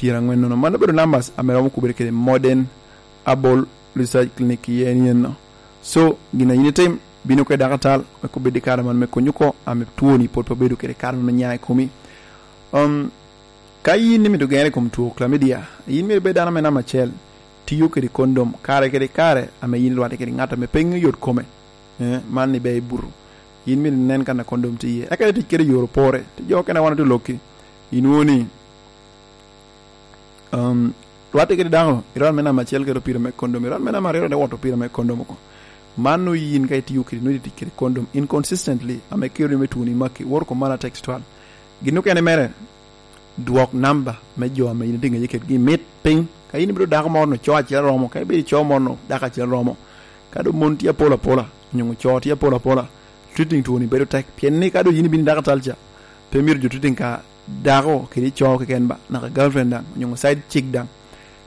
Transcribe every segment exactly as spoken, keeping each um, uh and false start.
pyerangwen nono. Mano obedo numbers ame romo kubere kede Modern Herbal Research Clinic i en yen no. So, gin a yin itim, bino kede dakatal, wek obed i kare man me konyi oko, ame twoni pwod pe obedo kede kare me nya i komi. Um, ka yin imito gere i kom two chlamydia, yin myero ibed dano me namba acel, tiyo kede kondom kare kede kare ame yin irwatte kede ŋat ame pe ŋeyo yot kome. Eh, man ni be i buto. Yin myero inen kan a kondom tye iye. Eka itic kede i yor opore. Ti jo okene wan otye lokki. Inwoŋo ni, um, rwatte kede dako, irwat me namba acel kede opira me kondom, irwat me namba aryo kede wot opira me kondom oko. Man nwoŋo yin ka itiyo kede, nwoŋo itic kede kondom inconsistently, ame kelo ni me twoni maki, woro kom man atextual. Gin okene mere, dwok namba me jo ame yin itye ŋeye kedgi mit piny. Ka yin ibedo dako moro no, co acel romo. Ka ibedo co moro no, dako acel romo. Ka doŋ mon tye apol apola, onyo co tye apol apola, treating twoni bedo tek. Pien ni ka doŋ yin ibino i dakatal ca, pe myero jo treating ka dako kede co keken ba, naka girlfriend daŋ, onyo side chick daŋ.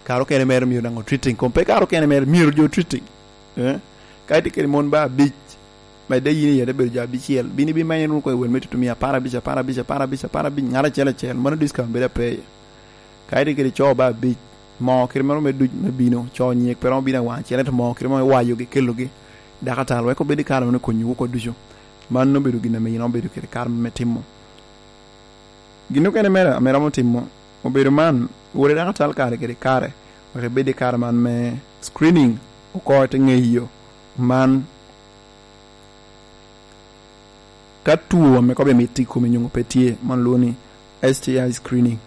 Kare okene mere myero daŋ o treating kom. Pe kare okene mere myero jo treating. Eh? Ka itye kede mon ba abic, medde yin iye te bedo jo abicel, bino ibimanyo wunu koŋ i wel me tutumia apar abic, apar abic, apar abic, apar abic, ŋat acel acel, mano discount bedo ape iye. Ka itye kede co ba abic, moo kite moro me duc me bino, co nyek pe romo bino awaŋ acel, ento moo kite moro me wayogi, kelogi, dakatal, wek obed i kare meno konyowu oko ducu. Mano obedo gin ame yin obedo kede kare me timo. Gin okene mere ame romo timo, obedo man, wot i dakatal kare kede kare, wek ibed i kare man me screening, oko ite ŋeyo man ka two ame kobo mit i komi nyoŋo pe tye, man lwongo ni S T I screening.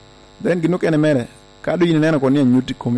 Then gin okene mere, ka doŋ yin ineno kono ni anyut i komi,